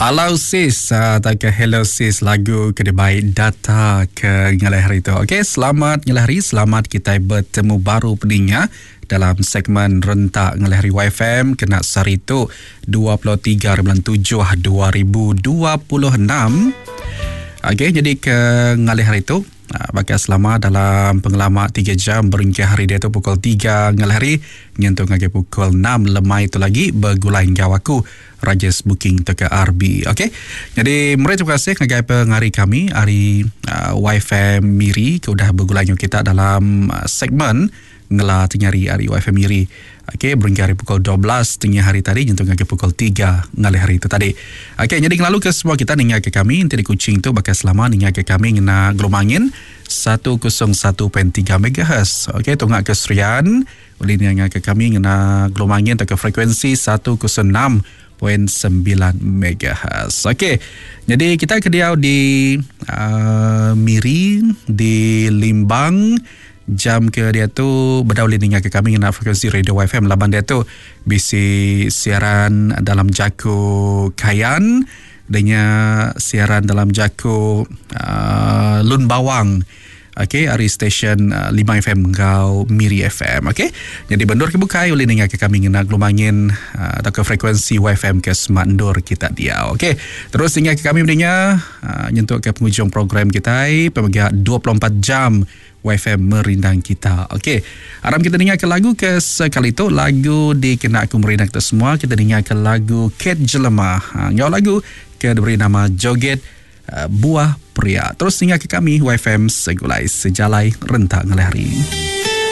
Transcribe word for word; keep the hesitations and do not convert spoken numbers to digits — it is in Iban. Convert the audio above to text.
Hello sis, uh, tak ke hello sis lagu ke dibai data ke ngalih hari tu. Okey, selamat ngalih hari, selamat kita bertemu baru peninga dalam segmen Rentak Ngalih Hari Y F M kena sehari tu dua puluh tiga bulan tujuh dua ribu dua puluh enam. Okey, jadi ke ngalih hari tu bakal selama dalam pengelama tiga jam berengkah hari dia tu pukul tiga ngalih hari nyentuh ngagai pukul enam lemai tu lagi bergulai enggau aku Rajes Booking T K R B. Okey. Jadi meri terima kasih ngagai pengari kami hari uh, Y F M Miri ke udah bergulai enggau kita dalam uh, segmen ngela tengah hari hari Y F M Miri. Okey, berengkah hari pukul dua belas tengah hari tadi nyentuh ngagai pukul tiga ngalih hari tu tadi. Okey, jadi ngelalu ke semua kita ninga ke kami nanti di Kuching tu bakal selama ninga ke kami ngena gelomangin seratus satu perpuluhan tiga megahertz. Okey, tunggak ke Serian boleh ninga ke kami ngena gelomangin atau ke frekuensi seratus enam perpuluhan sembilan megahertz. Okey, jadi kita ke diau di uh, Miri, di Limbang. Jam ke dia tu berdauli ninga ke kami ngena frekuensi radio Y F M laban dia tu bisi siaran dalam jaku Kayan dengan siaran dalam jaku uh, Lun Bawang. Okey, hari stesen uh, lima F M ngau Miri F M. Okey. Jadi bendur ke bukai oleh ninga ke kami ngena gelomangin uh, atau ke frekuensi Y F M ke Smart Ndur kita dia. Okey. Terus ninga ke kami mendengar uh, nyentuk ke penghujung program kita pemegang dua puluh empat jam Y F M merindang kita. Okey. Aram kita dengar ke lagu ke sekali tu, lagu dikena aku merindang kita semua. Kita dengar ke lagu Cat Jelema. Ha, ngau lagu ke diberi nama Joget uh, Buah Pria. Terus dengar ke kami Y F M Segulai Sejalai Rentak Ngalih Hari.